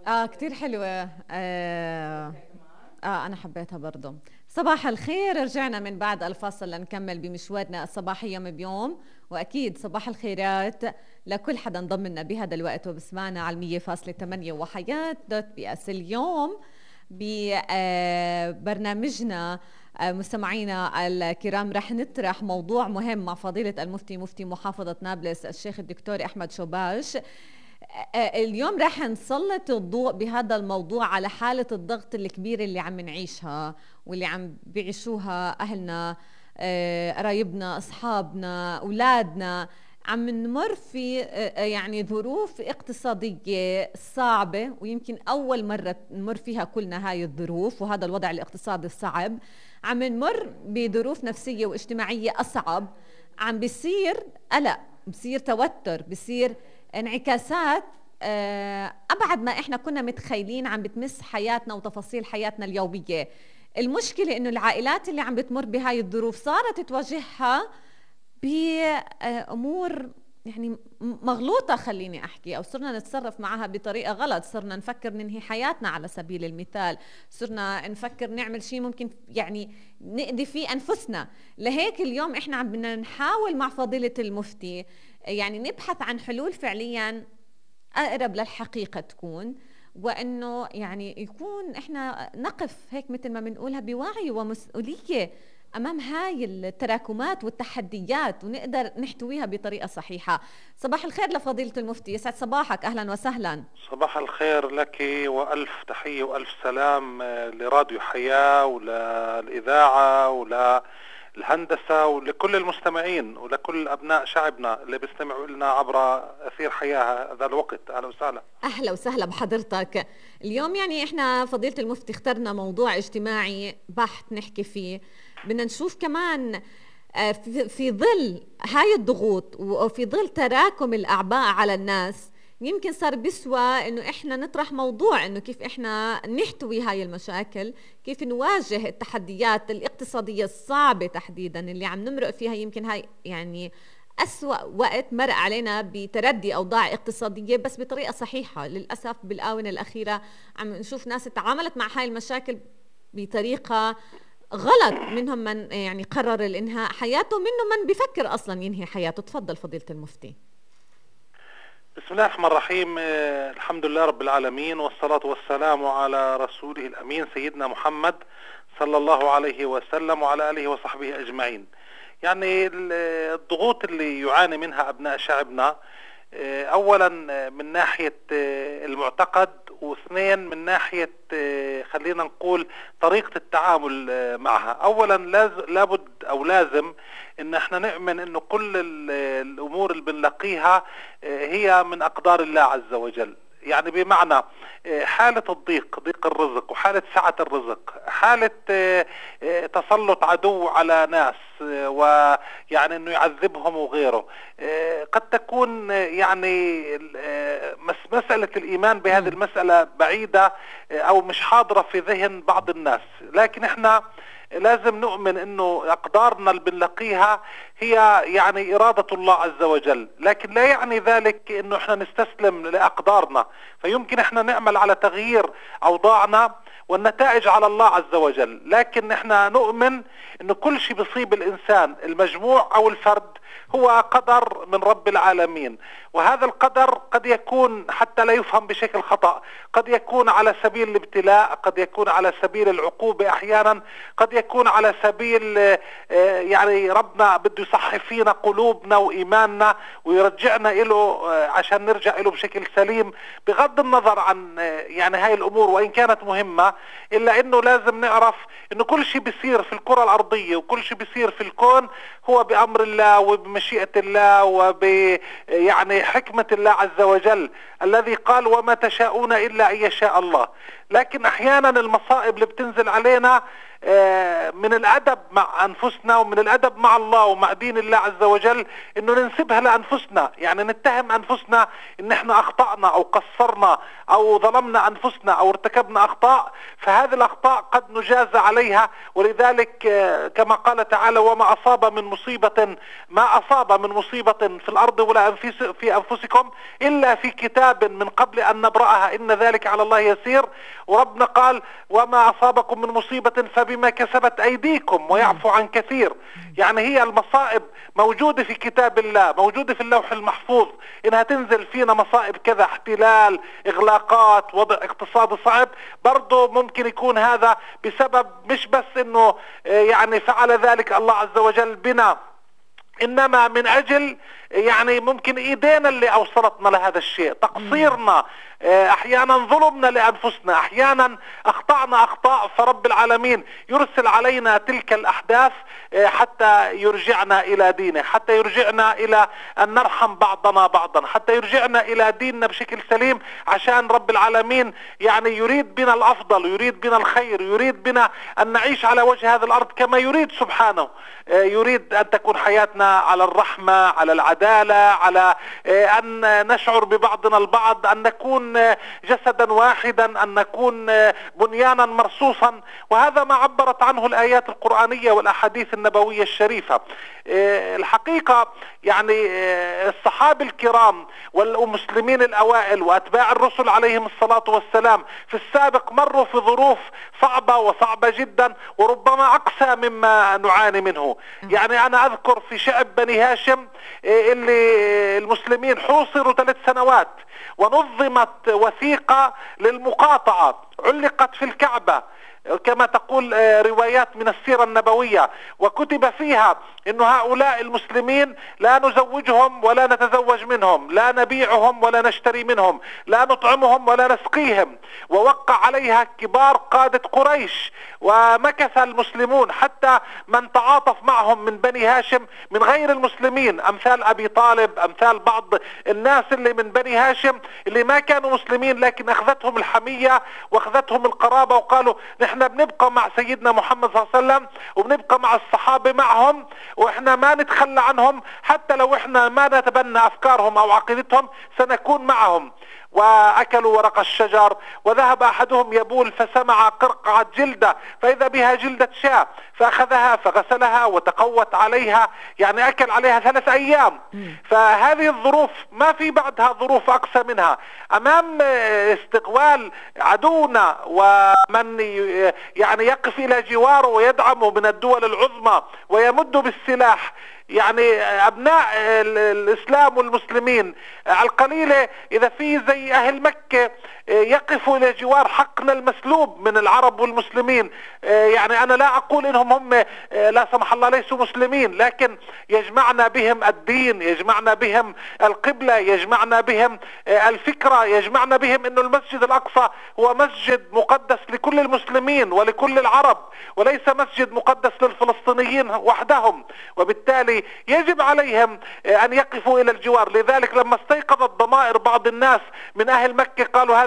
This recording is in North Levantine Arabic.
كتير حلوة. أنا حبيتها برضو. صباح الخير، رجعنا من بعد الفاصل لنكمل بمشوارنا الصباحي يوم بيوم، وأكيد صباح الخيرات لكل حدا انضم لنا بهذا الوقت وبسمعنا على 100.8 وحياة دوت بي اس. اليوم ببرنامجنا مستمعينا الكرام رح نطرح موضوع مهم مع فضيلة المفتي مفتي محافظة نابلس الشيخ الدكتور أحمد شوباش. اليوم رح نسلط الضوء بهذا الموضوع على حالة الضغط الكبيرة اللي عم نعيشها واللي عم بيعيشوها أهلنا، قرايبنا، أصحابنا، أولادنا. عم نمر في يعني ظروف اقتصادية صعبة، ويمكن أول مرة نمر فيها كلنا هاي الظروف وهذا الوضع الاقتصادي الصعب. عم نمر بظروف نفسية واجتماعية أصعب، عم بيصير قلق، بيصير توتر، بيصير انعكاسات أبعد ما إحنا كنا متخيلين عم بتمس حياتنا وتفاصيل حياتنا اليومية. المشكلة إنه العائلات اللي عم بتمر بهاي الظروف صارت تواجهها بأمور يعني مغلوطة، خليني أحكي، أو صرنا نتصرف معها بطريقة غلط. صرنا نفكر ننهي حياتنا على سبيل المثال، صرنا نفكر نعمل شيء ممكن يعني نأذي فيه أنفسنا. لهيك اليوم إحنا عم بدنا نحاول مع فضيلة المفتي يعني نبحث عن حلول فعليا أقرب للحقيقة تكون، وإنه يعني يكون إحنا نقف هيك مثل ما بنقولها بوعي ومسؤولية أمام هاي التراكمات والتحديات ونقدر نحتويها بطريقة صحيحة. صباح الخير لفضيلة المفتي، يسعد صباحك، أهلا وسهلا. صباح الخير لك وألف تحية وألف سلام لراديو حياة وللإذاعة وللهندسة ولكل المستمعين ولكل أبناء شعبنا اللي بيستمعوا لنا عبر أثير حياة هذا الوقت. أهلا وسهلا. أهلا وسهلا بحضرتك. اليوم يعني إحنا فضيلة المفتي اخترنا موضوع اجتماعي بحت نحكي فيه. بدنا نشوف كمان في ظل هاي الضغوط وفي ظل تراكم الأعباء على الناس، يمكن صار بيسوى إنه إحنا نطرح موضوع إنه كيف إحنا نحتوي هاي المشاكل، كيف نواجه التحديات الاقتصادية الصعبة تحديدا اللي عم نمرق فيها. يمكن هاي يعني أسوأ وقت مرق علينا بتردي أوضاع اقتصادية، بس بطريقة صحيحة. للأسف بالآونة الأخيرة عم نشوف ناس تعاملت مع هاي المشاكل بطريقة غلط، منهم من يعني قرر الانهاء حياته، منهم من بيفكر اصلا ينهي حياته. تفضل فضيلة المفتي. بسم الله الرحمن الرحيم. الحمد لله رب العالمين، والصلاة والسلام على رسوله الأمين سيدنا محمد صلى الله عليه وسلم وعلى آله وصحبه أجمعين. يعني الضغوط اللي يعاني منها أبناء شعبنا، أولا من ناحية المعتقد، واثنين من ناحية خلينا نقول طريقة التعامل معها. أولا لابد أو لازم إن احنا نؤمن إنه كل الأمور اللي بنلاقيها هي من أقدار الله عز وجل. يعني بمعنى حالة الضيق، ضيق الرزق، وحالة سعة الرزق، حالة تسلط عدو على ناس ويعني انه يعذبهم وغيره، قد تكون يعني مسألة الإيمان بهذه المسألة بعيدة أو مش حاضرة في ذهن بعض الناس، لكن احنا لازم نؤمن انه اقدارنا اللي بنلاقيها هي يعني إرادة الله عز وجل، لكن لا يعني ذلك انه احنا نستسلم لأقدارنا. فيمكن احنا نعمل على تغيير أوضاعنا والنتائج على الله عز وجل، لكن احنا نؤمن انه كل شيء بيصيب الانسان المجموع او الفرد هو قدر من رب العالمين. وهذا القدر قد يكون حتى لا يفهم بشكل خطأ، قد يكون على سبيل الابتلاء، قد يكون على سبيل العقوبة احيانا، قد يكون على سبيل يعني ربنا بده يصحي فينا قلوبنا وايماننا ويرجعنا له عشان نرجع له بشكل سليم، بغض النظر عن يعني هاي الامور وان كانت مهمة، الا انه لازم نعرف انه كل شيء بيصير في الكرة الارضية وكل شيء بيصير في الكون هو بامر الله وبمشيئة الله يعني حكمة الله عز وجل، الذي قال وما تشاءون إلا أن يشاء الله. لكن أحيانا المصائب اللي بتنزل علينا من الأدب مع أنفسنا ومن الأدب مع الله ومع دين الله عز وجل إنه ننسبها لأنفسنا، يعني نتهم أنفسنا إن إحنا أخطأنا أو قصرنا أو ظلمنا أنفسنا أو ارتكبنا أخطاء، فهذه الأخطاء قد نجازى عليها. ولذلك كما قال تعالى: وما أصاب من مصيبة في الأرض ولا في أنفسكم إلا في كتاب من قبل أن نبرأها إن ذلك على الله يسير. وربنا قال: وما أصابكم من مصيبة فبما كسبت أيديكم ويعفو عن كثير. يعني هي المصائب موجودة في كتاب الله، موجودة في اللوح المحفوظ، إنها تنزل فينا مصائب كذا، احتلال، إغلاقات، وضع اقتصادي صعب، برضو ممكن يكون هذا بسبب مش بس إنه يعني فعل ذلك الله عز وجل بنا، إنما من أجل يعني ممكن إيدينا اللي أوصلتنا لهذا الشيء، تقصيرنا، أحيانا ظلمنا لأنفسنا، أحيانا أخطأنا أخطاء، فرب العالمين يرسل علينا تلك الأحداث حتى يرجعنا إلى دينه، حتى يرجعنا إلى أن نرحم بعضنا بعضا، حتى يرجعنا إلى ديننا بشكل سليم، عشان رب العالمين يعني يريد بنا الأفضل، يريد بنا الخير، يريد بنا أن نعيش على وجه هذه الأرض كما يريد سبحانه. يريد أن تكون حياتنا على الرحمة، على العدالة، على أن نشعر ببعضنا البعض، أن نكون جسدا واحدا، أن نكون بنيانا مرصوصا. وهذا ما عبرت عنه الآيات القرآنية والأحاديث النبوية الشريفة. الحقيقة يعني الصحابة الكرام والمسلمين الأوائل وأتباع الرسل عليهم الصلاة والسلام في السابق مروا في ظروف صعبة وصعبة جدا، وربما أقسى مما نعاني منه. يعني أنا أذكر في شعب بني هاشم اللي المسلمين حوصروا 3 سنوات، ونظمت وثيقة للمقاطعة علقت في الكعبة كما تقول روايات من السيرة النبوية، وكتب فيها إنه هؤلاء المسلمين لا نزوجهم ولا نتزوج منهم، لا نبيعهم ولا نشتري منهم، لا نطعمهم ولا نسقيهم. ووقع عليها كبار قادة قريش، ومكث المسلمون حتى من تعاطف معهم من بني هاشم من غير المسلمين، أمثال أبي طالب، أمثال بعض الناس اللي من بني هاشم اللي ما كانوا مسلمين، لكن أخذتهم الحمية وأخذتهم القرابة، وقالوا نحن بنبقى مع سيدنا محمد صلى الله عليه وسلم، وبنبقى مع الصحابة معهم، وإحنا ما نتخلى عنهم، حتى لو إحنا ما نتبنى أفكارهم أو عقيدتهم سنكون معهم. وأكلوا ورق الشجر، وذهب أحدهم يبول فسمع قرقعة جلدة فإذا بها جلدة شاة، فأخذها فغسلها وتقوت عليها، يعني أكل عليها 3 أيام. فهذه الظروف ما في بعدها ظروف أقسى منها. أمام استقبال عدونا ومن يعني يقف إلى جواره ويدعمه من الدول العظمى ويمد بالسلاح، يعني أبناء الإسلام والمسلمين على القليلة إذا في زي أهل مكة يقفوا إلى جوار حقنا المسلوب من العرب والمسلمين. يعني أنا لا أقول إنهم هم لا سمح الله ليسوا مسلمين، لكن يجمعنا بهم الدين، يجمعنا بهم القبلة، يجمعنا بهم الفكرة، يجمعنا بهم إنه المسجد الأقصى هو مسجد مقدس لكل المسلمين ولكل العرب، وليس مسجد مقدس للفلسطينيين وحدهم، وبالتالي يجب عليهم أن يقفوا إلى الجوار. لذلك لما استيقظت ضمائر بعض الناس من أهل مكة قالوا هذه